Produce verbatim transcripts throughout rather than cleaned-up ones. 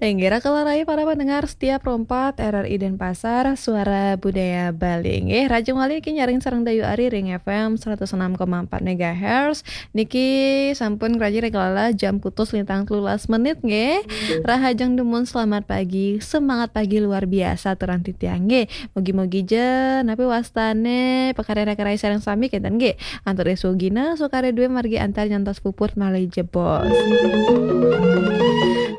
Inggih, raka rai para pendengar setia Pro empat R R I Denpasar, Suara Budaya Bali. Inggih, rahajeng malih niki nyarengin sareng Dayu Ari ring F M seratus enam koma empat megahertz. Niki sampun ngrajin ring kelala jam kutus lintang telulas menit, nggih. Rahajeng dumun, selamat pagi, semangat pagi luar biasa aturang titiang, nggih. Mugi-mugi ja, napi wastane pakaryan raka rai sareng sami kenten, nggih. Antuk ring sugina, sukare duwe margi antar nyantos puput malih jebos.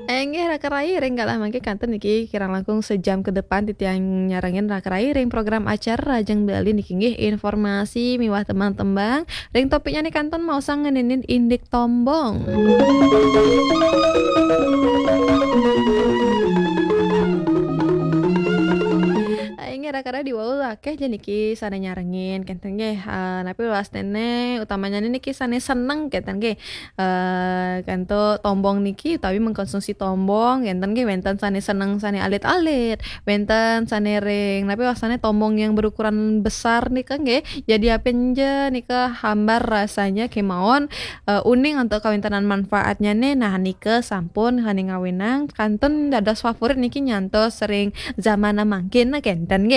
Inggih, raka rai, ring galah mangke kantun niki kirang langkung sejam ke depan titiang nyarengin raka rai ring program acara Rahajeng Bali niki, nggih, informasi miwah tembang-tembang. Ring topiknya nih kantun maosang ngeninin indik tombong. Inggih, raka rai, diwau akeh ja niki sane nyarengin kenten, nggih. Eh, napi wastane utamanya niki sane seneng kenten, nggih. Eh, kanto tombong niki utawi mengkonsumsi tombong kenten, nggih, wenten sane seneng sane alit-alit, wenten sane ring napi wastane tombong yang berukuran besar nika, nggih. Jadi apen ja nika hambar rasanya kemawon, eh, uning antuk kawentenan manfaatnya nih. Nah, nika sampun sane ngawinang kantun dados favorit niki nyantos ring zaman mangkin kenten, nggih.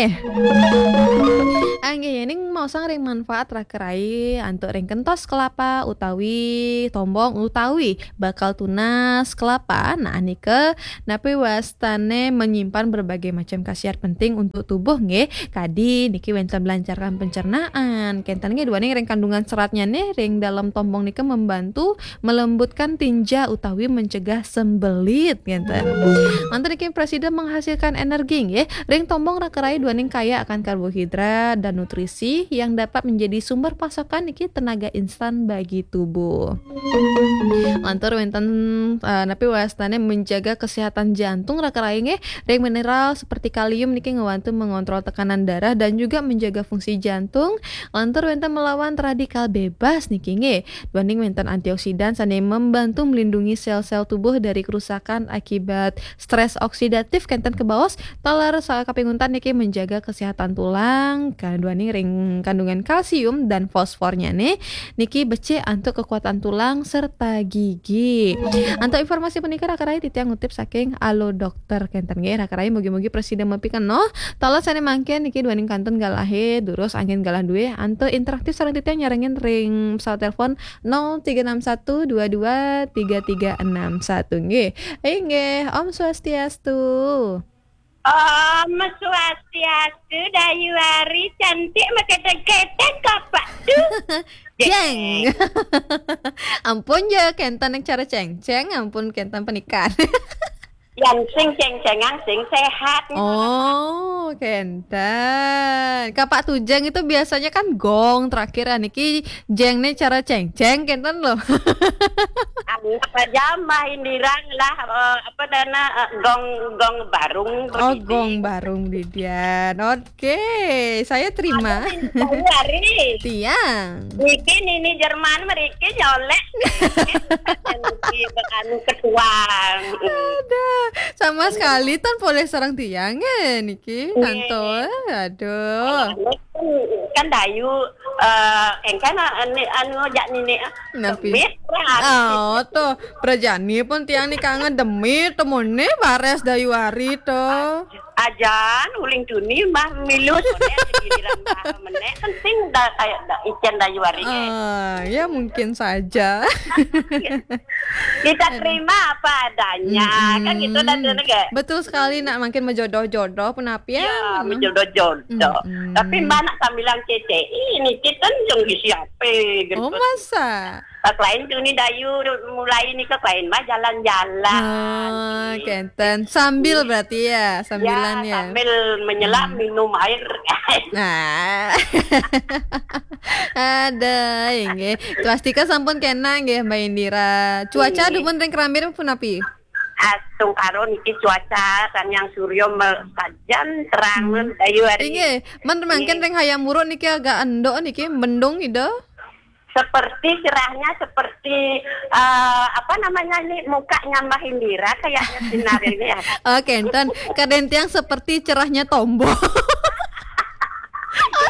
Inggih, yening maosang ring manfaat raka rai antuk ring kentos kelapa utawi tombong utawi bakal tunas kelapa. Nah, nika napi wastane menyimpan berbagai macam khasiat penting untuk tubuh, nggih. Kadi niki wenten melancarkan pencernaan. Kenten, nggih, duaning ring kandungan seratnya nih ring dalam tombong nika membantu melembutkan tinja utawi mencegah sembelit, ngenten. Lantur niki prasida menghasilkan energi, nggih. Ring tombong raka rai duaning kaya akan karbohidrat dan nutrisi yang dapat menjadi sumber pasokan niki tenaga instan bagi tubuh. Lantur wenten, eh, napi wastane menjaga kesehatan jantung raka rai, nggih. Ring mineral seperti kalium niki ngewantu mengontrol tekanan darah dan juga menjaga fungsi jantung. Lantur wenten melawan radikal bebas niki, nggih. Duaning wenten antioksidan sane membantu melindungi sel-sel tubuh dari kerusakan akibat stres oksidatif kenten kebaos. Taler sa-, kaping untat niki menjaga kesehatan tulang, kaduaning ring kandungan kalsium dan fosfornya nih niki becik antuk kekuatan tulang serta gigi. Antuk informasi punika raka rai titiang ngutip saking Alo Dokter kenten, nggih. Raka rai, mugi-mugi prasida mapikenoh. Taler sane mangkin niki duaning kantun galahe durus anggen galah duwe antuk interaktif sareng titiang nyarengin ring pesawat telepon nol tiga enam satu dua dua tiga tiga enam satu, nggih. Inggih, Om Swastiastu. Om Swastiastu, Dayu Ari, cantik, maketek-ketek, kapak tu. Jeng. Ampun ja, kenten yang cara ceng-ceng, ampun kenten penikan. Yang sing ceng-cengan, sing sehat. Oh, kenten. Kapak tujeng itu biasanya kan gong terakhir, niki jeng nih cara ceng-ceng, kenten loh. Anggap aja Mbah Indira lah, eh, apa dana, eh, gong, gong barung. Oh, berdiri. Gong barung, Didian. Oke, saya terima. Halo, Dayu Ari. Tiang. Niki Nini Jerman meriki nyolek. Niki anu ketuang. Ada. Sama sekali tan polih sareng tiang, eh, niki. Nggih. Tanto, eh, aduh. Kan, kan Dayu, eh, engkana anu, anu jak nini, ah. Napi? Demit, lah. Oh, tuh. Prajani pun tiang nika ngedemit, temune bares Dayu Ari, tuh. Ajan, uling tuni, Mbah milu, sore ada giliran Mbah menek, kan sing da-, kayak da-, icen Dayu Ari, eh. Ah, ya mungkin saja. Kita terima apa adanya, kan gitu dan, mm-mm, nggih. Betul sekali, nak, makin menjodoh-jodoh pun apian. Ya, menjodoh-jodoh. Mm-mm. Tapi Mbah nak sambilang C C I, ini kita jeng isi apa, gitu. Oh, masa? Kak lain tuh nih Dayu mulai nih, Kak lain mah jalan-jalan. Oh, gitu. Kenten. Sambil berarti ya, sambilan ya, ya? Sambil menyelam, hmm, minum air. Nah. Ada, inggih. Swastika sampun kena nggih, Mbak Indira. Cuaca, inggih, dumun ring Kerambir punapi? Astungkara niki cuaca, Sang Hyang Surya me-, sajan terang, hmm, Dayu Ari. Inggih, men mangkin, inggih, ring Hayam Wuruk niki agak enduk niki, mendung ida. Seperti cerahnya, seperti, eh, apa namanya ini, mukanya Mbah Indira kayaknya sinar ini ya. Oke, enten kadang tiang seperti cerahnya tombong.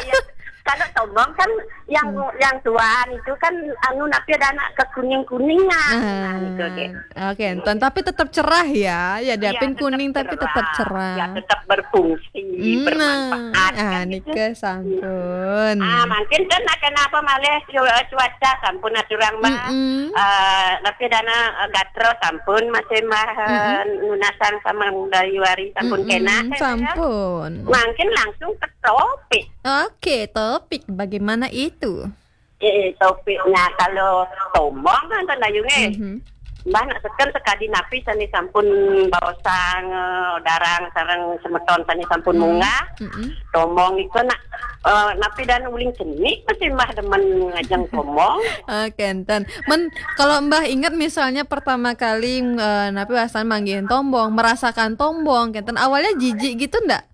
Iya. Kalau tombong kan Yang yang tuan itu kan anu, tapi ada anak kekuning-kuningan. Nah, itu deh. Oke, enten, tapi tetap cerah ya. Ya, Iya, diapin tetap kuning tapi tetap cerah. Ya, tetap berfungsi, Hmm, bermanfaat ah, kan gitu. Nika sampun. Ah, mungkin kan kenapa malih cu- cuaca sampun aturang, Mbak. Mm-mm. Eh, tapi dana eh, gatra sampun masih Mbah eh, nunasan sama Dayu Ari sampun Mm-mm, kena kan, ya. Sampun. Mungkin langsung ke topik. Oke, topik bagaimana itu? Eh, topiknya kalau tombong kan tandayunge. Mhm. Mbah nak seken sekadi napi sane sampun baosang eh, darang sareng semeton sane sampun Hmm. munggah. Mm-mm. Tombong itu nak eh, napi dan uling cenik masih Mbah demen ngajeng tombong. Oke, enten. Men, kalau Mbah ingat misalnya pertama kali eh, napi wasan manggihin tombong, merasakan tombong, kenten awalnya jijik gitu ndak?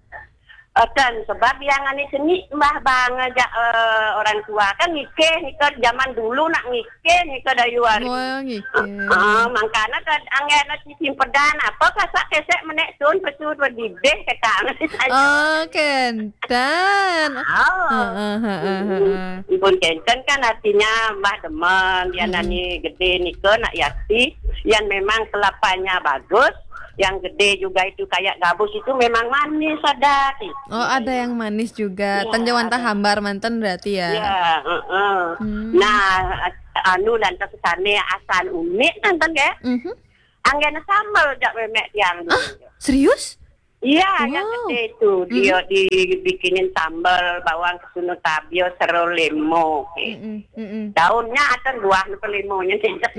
Eh, kan sebab yang ane cenik Mbah bang aja eh, orang tua kan ngikeh nika zaman dulu nak ngikeh nika Dayu Ari. Mau ngikir. Ah, mangkana kan anggena simpedan apa kasak kesek menek sun pesu berdidih kata. Oh, kenten. Oh. Heeh, heeh, heeh. Pun kenten kan artinya Mbah demen dia Mm-mm. nani gede nika nak yati yang memang kelapanya bagus, yang gede juga itu kayak gabus itu memang manis ada gitu. Oh, ada yang manis juga. Iya, Tanjawanta ada. Hambar manten berarti ya. Ya, heeh. Hmm. Nah, anu lantas sane asal unik nonton ya. Mhm. Anggena sambel jak memek tiang. Serius? Iya, yang Wow. gede itu dia dibikinin sambal bawang kesuna tabio sero lemo. Mm-mm, mm-mm. Daunnya atau buah apa lemonya tidak.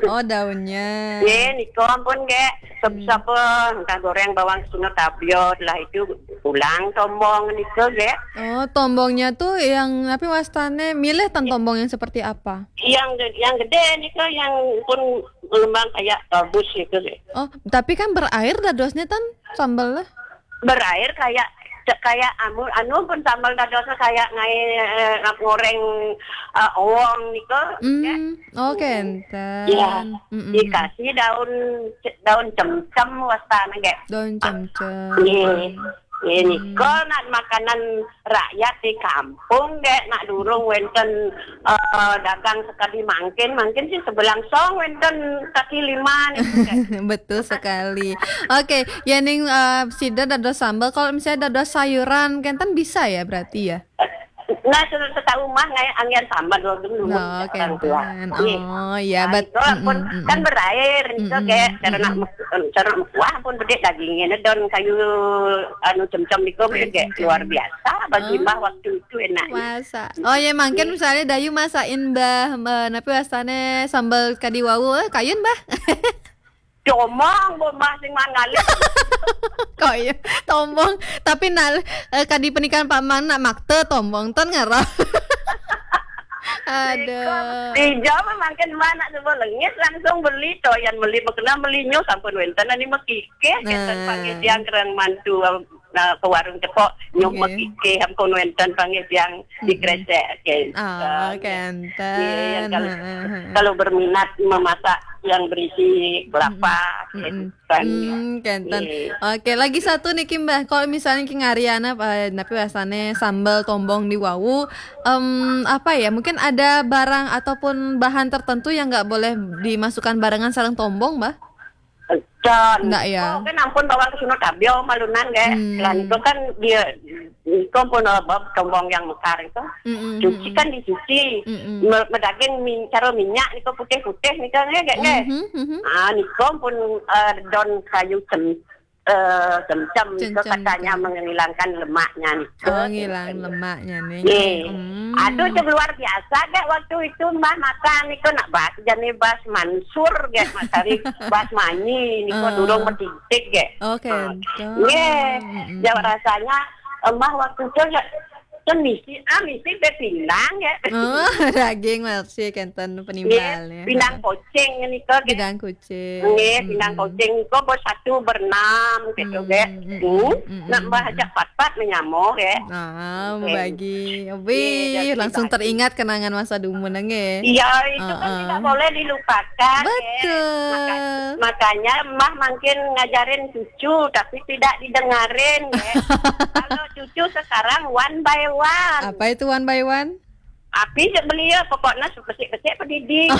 Oh, daunnya. Ye, niko ampun ge. Sop-sop entah goreng bawang kesuna tabio lah itu pulang tombong niko ge. Oh, tombongnya tuh yang apa wastane milih tan tombong yang seperti apa? Yang ge- yang gede niko yang pun ngembang kayak gabus gitu ge. Oh, tapi kan berair dadosnya tan sambel lah. Berair kayak cek kayak anu anu pun sambal dadosnya kayak ngai eh, ngap goreng eh, owong niko. Ya. Hmm, oh kenten. Iya. Mm-mm. Dikasih daun daun cemcem wastane ge. Daun cemcem. Iya. Ini kok nak makanan rakyat di kampung ge nak durung wenten eh, dagang sekali mangkin mangkin sih sebelang song wenten kaki lima nih. Betul sekali. Oke, yening eh, sida dados sambel, kalau misalnya dados sayuran kenten bisa ya berarti ya? Nah, se- setahu mah ngai angin sambal dulu dulu Oh, orang tua. kenten. Iya. Oh, ya, Nah, bet- itu pun mm-mm, mm-mm. Kan berair itu Mm-mm, kayak karena mm-mm. Karena wah pun gede dagingnya don kayu anu cemcem itu gede Oke. Luar biasa bagi Oh. Mbah waktu itu enak. Masa. Oh ya, mungkin misalnya Dayu masakin Mbah, Mbah, napi wastane sambel kadi wau, eh, kayun, Mbah? Comong bombah sing mangali. Kok iya? Tombong, tapi nal eh, kadi pernikahan Pak Mang nak makte tombong ton ngarah. Aduh. Dijawab makin mana coba lengis langsung beli to yang beli makena beli nyo sampun wenten ani mekikeh keten Nah. Panggih tiang kerang mantu nah, ke warung tepok nyok Oke. Mekikeh ampun wenten Panggih tiang di kresek. Oke. Oh, Iya, yang kenten. kalau Heeh, heeh. kalau berminat memasak yang berisi kelapa Mm-mm. kan. Hmm, kenten. Iya. Oke, lagi satu nih Kim, Mbah. Kalau misalnya Kim Ariana eh, napi wastane sambel tombong di wau, em, apa ya? Mungkin ada barang ataupun bahan tertentu yang nggak boleh dimasukkan barengan sareng tombong, Mbah? Con. Enggak ya? Oh, kan ampun bawang kesuna tabio malunan ge. Hmm. Lah itu kan dia itu pun eh, bab tombong yang mekar itu. Mm-mm, Cuci mm-mm. Kan dicuci. Mm-mm. Me- Medaging min, cara minyak nika putih-putih nika nggih nggih. Mhm, mhm. Ah nika pun eh, don kayu cem eh, cemcem nika Cemcem katanya nika. Menghilangkan lemaknya nika. Oh, ngilang lemaknya nih. Nih. Hmm. Aduh, cek luar biasa gak waktu itu Mbah makan itu nak bahas jadi bahas mansur gak Mas Ari bahas manyi ini kok Ah. Durung metitik gak. Oke. Nggih, jawab rasanya Mbah waktu itu ya kan misi ah misi be pindang ya. Oh, daging masih kenten Nggih, penimbalnya. Pindang koceng ini kok. Pindang kucing. Nggih, pindang koceng kok bos satu berenam gitu Hmm, gak. hmm, Hmm, hmm, nak hmm, Mbah hmm. Ajak pat-pat menyamo gak. Ah, Oke. bagi. Iya, Wih, jadi langsung bagi. Teringat kenangan masa dulu nengge. Iya, itu kan Heeh. Tidak boleh dilupakan. Ya. Betul. Maka- Makanya Mbah mangkin ngajarin cucu, tapi tidak didengarin, ya. Kalau cucu sekarang one by one. Apa itu one by one? Api je beliau, pokoknya besik-besik pendidik.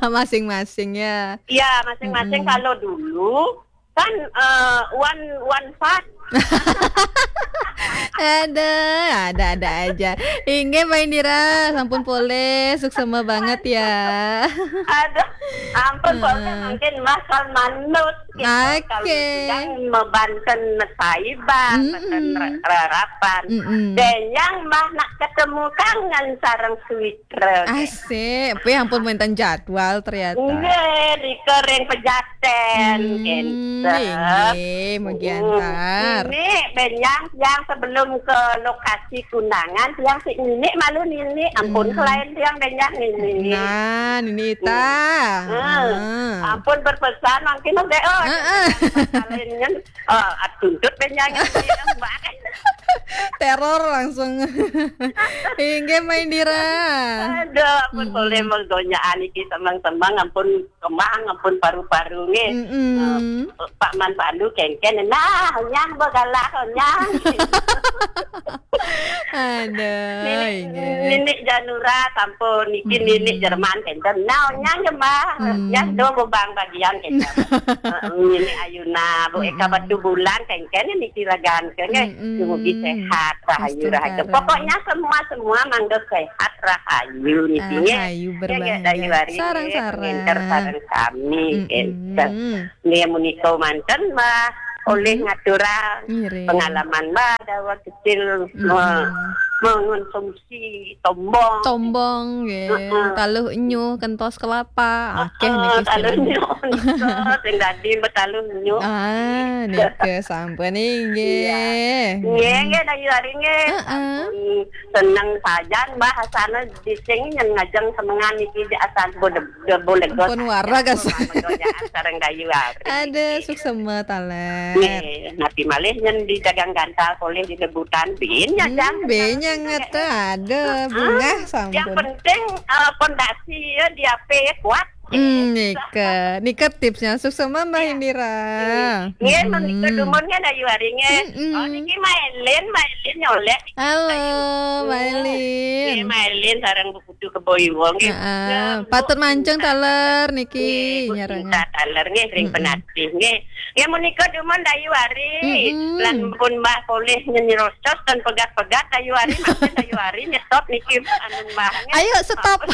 Masing-masing, ya. Ya, masing-masing. Mm-mm. Kalau dulu kan, eh, one, one part. Ada, ada, ada aja. Inggih, Mbak Indira, sampun polih, suksema banget ya. Aduh, ampun, polih mungkin Mbah kan manut. Gitu. Oke. Kalau sedang mebanten saiban, mm-mm, banten re-, rerapan. Mm-mm. Benyang Mbah nak ketemu kangen sareng Switra. Asik, tapi ampun wenten jadwal ternyata. Nggih, rika ring Pejaten, hmm, gitu. Nggih, nggih, mugi antar. Ini benyang yang sebelum ke lokasi kundangan, tiang sik nini malu nini, ampun, hmm, kelain tiang benyang nini. Nah, nini ita. Hmm. Ah. Ampun berpesan, mungkin udah, oh, heeh, kelain kan, oh, tuntut benyang nini, Mbak. Teror langsung. Inggih, Mbak Indira. Aduh, ampun, mm-mm, polih menggonyakan iki semang-semang, ampun kemang, ampun paru-paru nggih. Mm-mm. Eh, Pak Man Pandu kengken, nah, nyang begalah, nyang. Aduh, nini, inggih. Nini Janura sampun, niki, mm-mm, nini Jerman kenten. Nah, nyang Jembah, hmm, nyang do bebang bagian kenten. Heeh, nini Ayuna, Bu Eka, mm-mm, Batu Bulan kenten niki ragan kenten. Mm-mm. Dumugi sehat, rahayu, rahayu. Astungkara. Pokoknya semua-semua mangga sehat, rahayu niki nggih. Rahayu. Ya, ya, berbahagia. Dayu Ari sareng-sareng. Ngenter sareng sami, mm-mm, kenten. Nggih, menika manten, Mbah, oleh, mm-mm, ngaturang, ngiring, pengalaman Mbah dawuh kecil, mm-mm, me-, mengonsumsi tombong. Tombong, nggih. Heeh. Taluh enyuh, kentos kelapa, akeh, heeh, niki taluh sekarang. Enyuh, nika sing dadi betaluh enyuh. Ah, nika sampun, inggih. Iya. Nggih, nggih, Dayu Ari nggih. Heeh. Sampun seneng sajan, Mbah, asana dising nyen ngajeng semengan niki di asan Bode-, Bodelegos. Pun warag asan. Sareng Dayu Ari. Ada, suksema taler. Nggih, napi malih nyen di dagang gantal polih di lebutan bin, ya, hmm, jang. Bin, ya, ngeta ada, heeh, bungah sampun. Yang penting, eh, pondasi ya di A P kuat. Hmm, nika, nika tipsnya. Suksema, Mbah Indira. Iya. Nggih, menika, hmm, dumun nggih, Dayu Ari nggih. Mm-mm. Oh, niki Mailin, Mailin nyolek. Halo, Dayu. Mailin. Nggih, Mailin sareng Bu Putu Kebo Iwa nggih. Heeh. Nah, patut Bu mancung Intan taler niki, nggih, Bu nyarengan. Intan taler nggih, ring, mm-mm, Penatih nggih. Nggih, menika dumun Dayu Ari. Mm-mm. Lan pun Mbah polih nyenirocos dan pegat-pegat Dayu Ari, maksud Dayu Ari nyetop niki anu Mbah nggih. Ayo, stop.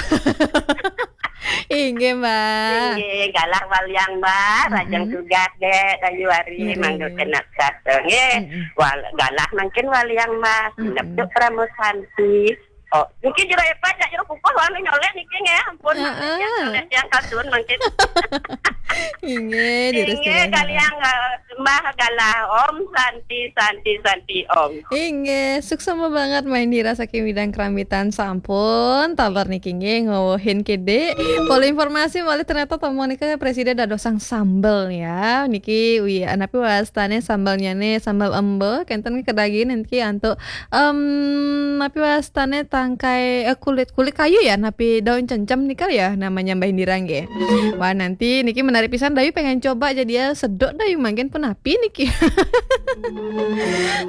Inggih, Mbah. Inggih, galah waliang, Mbah. Rajang, mm-mm, tugas, Dek, Dayu Ari, ngiring, mangga kena kata, nggih. Mm-mm. Wal-, galah mangkin waliang, Mbah. Mm-mm. Sinep juk Pramo Santi. Oh, niki jero epat, jak jero kukuh, wanu nyolek niki, nggih. Ampun, heeh, mangkin, nyolek yang kasun, mangkin. Inggih, inggih, kaliang, eh, Mbah galah. Om Santi, Santi, Santi, Om. Inggih, suksema banget Mbah Indira saking Widang Kerambitan sampun. Taler niki nggih ngwewehin kidik. Polih informasi malih ternyata tombong nika presida dadosang sambel ya. Niki wi, napi wastane sambelnyane, sambel embe, kenten kedaging niki antuk, em, napi wastane tangkai, eh, kulit, kulit kayu ya, napi daun cencem nika ya namanya Mbah Indira nggih. Wah, nanti niki menarik pisan, Dayu pengen coba jadi ya, sedok Dayu mangkin pun api niki.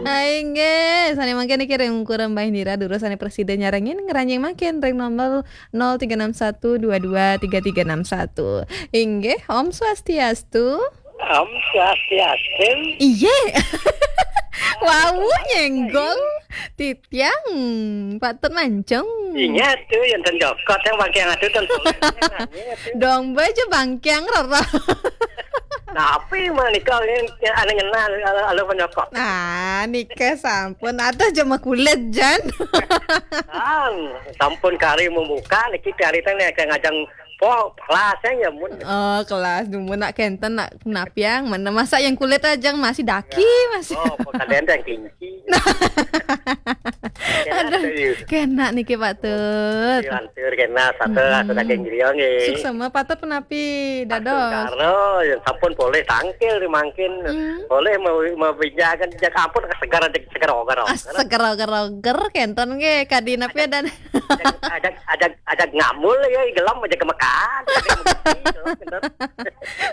Nah, inggih, sane mangkin niki ring kurang Mbah Indira durus sane presida nyarengin ngranjing mangkin ring nomor nol tiga enam satu dua dua tiga tiga enam satu. Inggih, Om Swastiastu. Om Swastiastu. Iye. Wau nyenggol. Tiang, patut mancung. Ingat tu yang ten jokot, yang bangkiang atu ten. Dong baca bangkiang rara. Tapi menika yang anu ngenal, anu, anu penyokot. Nah, nika sampun ada jema kulit jan. Kan, sampun kari membuka, niki kari teh ngajeng po kelas ya mun. Oh, kelas dumun nak kenten nak napiang mana masa yang kulit aja masih daki, ya, masih. Oh, po kalian teh kinci. Aduh, kena niki Pak Tut. Lantur kena satu Hmm. satu daging griya nggih. Suksema Pak Tut punapi dados? Karo ya sampun boleh tangkil ri mangkin. Hmm. Boleh mau mau pinjakan jak ampun segar aja segar ogar. Ah, seger-oger kenten nggih kadi napi dan Ajak ajak ajak ngamul ya gelem aja kemekan.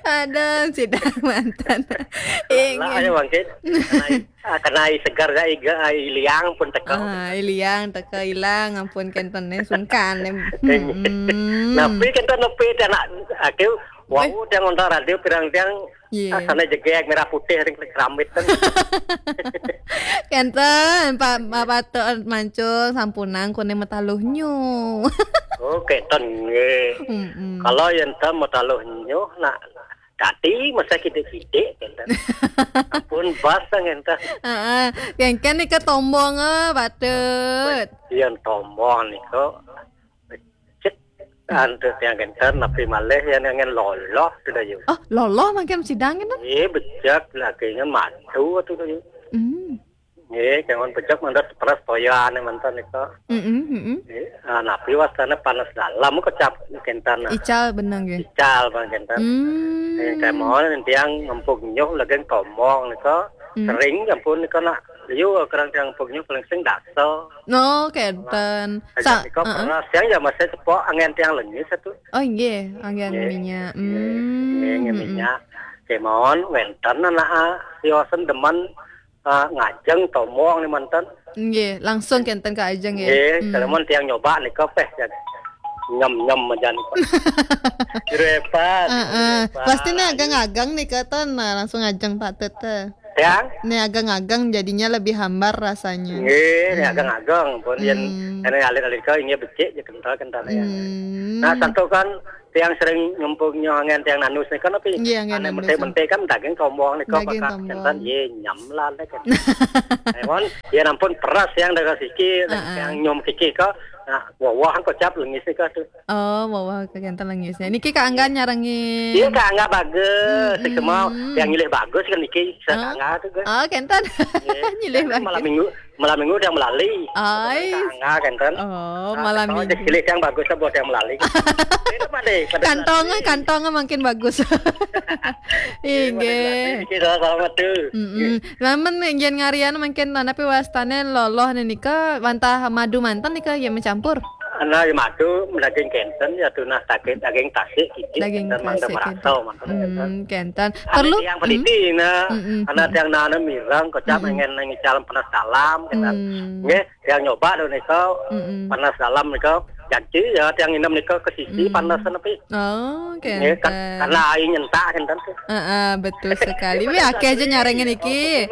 Aduh, sidang manten. Lah Inggih. Ayo mangkin. Kenai, ah, kenai segar ya iga ai liang pun teka. Ah, iliang teka ilang ampun kenten eh, sungkan eh. Mm-mm. Napi kenten napi anak aku wau tiang ngontak radio pirang tiang Iya. Ah, sana jegeg merah putih ring keramit kan. Kenten Pak Pak Tut Mancung sampunang kuning metaluh nyu. Oh, kenten nggih. Mm-mm. Kalau yen ten metaluh nyu nak tadi masa kidik-kidik kenten. Ampun bas ngenten. Heeh. Yen kan nika tombong eh, Pak Tut. Yen tombong nika cek antuk tiang kenten napi malih yen ngen loloh sudah yuk. Oh, loloh mangkin sidang kenten? Eh, bejak lagi ngen madu tu dah yuk. Hmm. Eh, jangan bejak mandar peras toyan mantan itu. Mm-mm, mm-mm. Eh, ah, napi wastane panas dalam kecap kenten. Ical benang nggih. Ical bang kenten. Hmm. Eh, kayak mau tiang ngempuk nyuh lagi tomong itu. Hmm. Sering ampun itu nak liu kerang tiang ngempuk nyuh paling sing daso. Oh, kenten. Sa- Sa- nika heeh. Pernah siang ya masih cepok angin tiang lengis itu. Oh, nggih, angin Nggih. Minyak. Nggih, Hmm, nggih, mm-mm. Minyak. Kemawon wenten anak ah, siosen demen ah, ngajeng tomong ni mantan. Nggih, langsung kenten ke ajeng nggih. Nggih, hmm. Kalamun tiang nyoba nika peh ya. Nyem-nyem aja nika. Repas. Heeh. Pasti nih agang-agang nih kata nah langsung ajeng Pak Tut teh. Tiang? Nih agang-agang jadinya lebih hambar rasanya. Nggih, nih hmm. Agang-agang pun yen hmm. Ene alit-alit kau ini becik je kental-kental ya. Hmm. Nah, satu kan tiang sering ngempung nyoangan tiang nanus nih kan tapi nggih, nggih, ane nanus. Mentik-mentik kan daging tombong nih kok daging bakal tombong. Kenten ye nyam lah nih kan. Emon, ya ampun peras yang dagang siki, uh-uh. Yang nyom kiki kok, nah, wah-wah kok cap lengis nih kok tuh. Oh, wah-wah kenten lengis. Niki Kak Angga nyarengi. Iya, Kak Angga bagus. Hmm, hmm. Semua yang nyilih bagus kan niki, Kak Angga tuh kan. Oh, kenten. Iya. Nyilih bagus. Malam minggu, malam minggu udah melali. Ai. Tangga kan kan. Oh, nah, malam minggu. Pilih yang bagus buat yang melali. Kantong, kantong makin bagus. Inggih. Selamat tuh. Mm-mm. Lamun nggih ngarian mangkin napi wastane loloh nika wantah madu manten nika ya mencampur. Ana ya madu daging kenten ya tunah daging daging tasik iki daging tasik merasa manten. Hmm, kenten. Perlu yang peneliti nah ana yang nana mirang kocap pengen nang calon penas dalam kenten. Hmm. Nggih, yang nyoba lho nika panas dalam nika. Jadi ya yang inem nika ke sisi panas nepi. Oh, kenten. Karena air nyentak kenten. Heeh, betul sekali. Wih akeh aja nyarengin iki.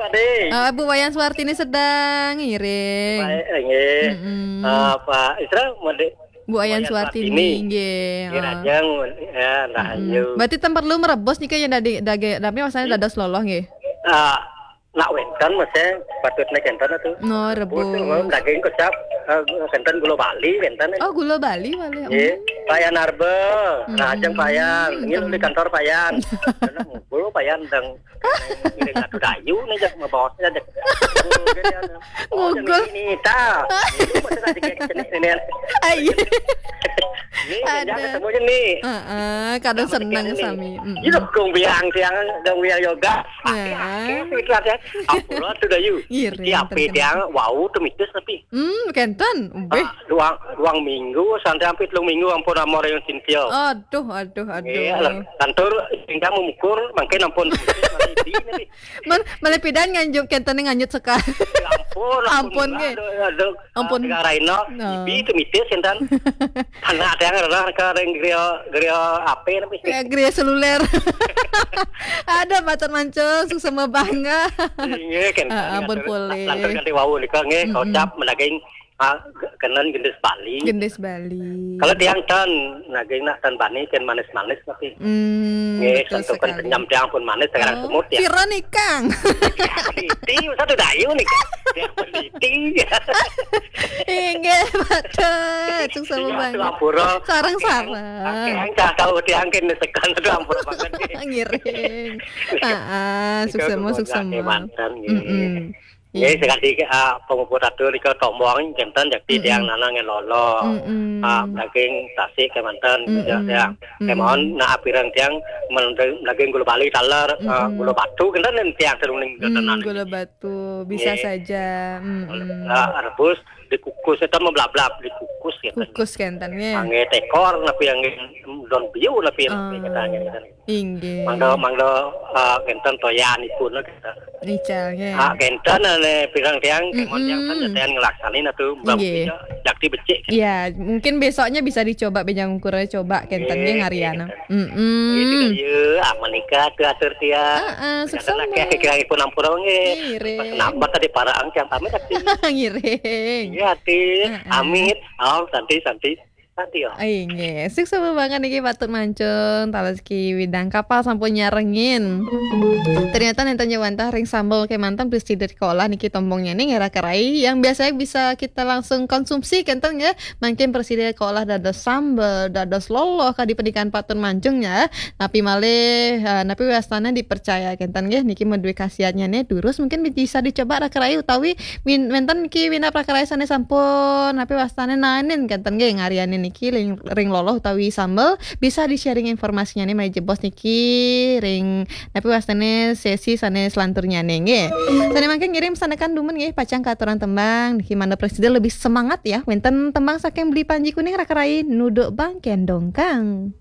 Oh, Bu Wayan Suwartini sedang ngiring. Baik, nggih. Mm-mm. Eh, Pak Isra, Made Bu Wayan Suwartini nggih. Nggih, rajang ya rahayu. Berarti ten perlu merebus nika ya dadi daging tapi maksudnya dados loloh nggih. Ah, nak wenten mesti patutnya kenten tuh. No, rebus. Daging kecap eh, kenten gula Bali kenten. Oh, gula Bali Bali. Nggih, payan arbe, rajang payan. Ini di kantor payan. Gula payan dang Ini satu dayu nih jak mau bawasnya jak. Ngugul. Ini ta. Ini masih ada kayak ini. Ayo. Ini yang ketemu nih. Heeh, kadang seneng sami. Ini kung biang tiang dong biang yoga. Pakai itu ada. Ampura tuh dayu. Iya. Tapi tiang wau tuh mitis tapi. Hmm, kenten. Beh. Ruang ruang minggu santai hampir telung minggu ampun amor yang sintil. Aduh, aduh, aduh. Iya, kantor tinggal mengukur mungkin ampun. Melepidan nganjuk kenten nganjuk sekali. Ampun, ampun nggih. Ampun. Raino, ibi itu mitis enten. Anak ada yang adalah ke ring griya griya apa namanya? Griya seluler. Ada matur mancung sesama bangga. Nggih kan. Ampun boleh. Lantur ganti wau nika nggih kocap menaging Ah, kenen gendis Bali. Gendis Bali. Kalau tiang tan, naging nak tan bani kan manis-manis tapi. Hmm, nggih, betul sentuhan sekali. Senyum tiang pun manis sekarang oh, semut ya. Sira nikang. Peneliti, satu dayu nih. Tiang peneliti. Inggih, betul. Cuk sama banget. Sarang-sarang. Yang cakal tiang kan sekan itu ampun banget. Ngiring. Heeh, suksema suksema. Mantan gitu. Mm-mm. Nggih, sekali, ah, pamuput atur nika tombong kenten jakti tiang nana ngen lolo. Ah, daging tasik kemanten, ya, ya. Kemawon, nah, apirang tiang men-, daging gula bali taler, ah, gula batu kenten, dan tiang seruning ketenan. Gula batu, bisa saja. Ah, rebus, dikukus, itu mah blab-blab, dikukus kenten. Kukus kenten, ya. Angge tekor, napi angge don biu, napi, napi katanya, kenten. Inggih. Mangga, mangga, ah, kenten toyanipun, kenten. Ical, nggih. Ah, kenten, ane pirang tiang, kemon tiang kan nyetean ngelaksanin atuh, mbak. Inggih. Buktinya, jakti becik. Ya, mungkin besoknya bisa dicoba, bejang ukur coba, kenten, nggih, nggih, ngariana. Kenten. Mm-mm. Nggih, juga, ya, ah, menikah tuh atur tiang. Heeh, sukses. Kira-kira pun ampura, nggih. Ngiring. Pas nampak tadi para angkian pamit, ati. Ngiring. Iya, ati. Heeh. Amit. Oh, santi, santi. Santi, oh. Ai, nggih. Sukses banget niki patut mancung, tales ki widang kapal sampun nyarengin. Ternyata nenten nyawantah ring sambel kemanten presiden diolah niki tombongnya nih, ngerah kerai yang biasanya bisa kita langsung konsumsi kenten ya. Mungkin presiden diolah dados sambel, dados loloh kadi pendidikan patut mancung ya. Napi malih, eh, napi wastane dipercaya kenten nggih niki maduwe khasiatnya nih durus mungkin bisa dicoba raka rai utawi win-, wenten niki winap raka rai sane sampun napi wastane naenin kenten nggih ngariane niki ring, ring loloh utawi sambel bisa di-sharing informasinya nih malih jebos niki ring napi wastane sesi sane selanturnya nih nggih. Sane mangke ngirim sanekan dumun nggih pacang katuran tembang niki mangda presiden lebih semangat ya wenten tembang saking Beli Panji Kuning raka rai nuduk bangken dongkang.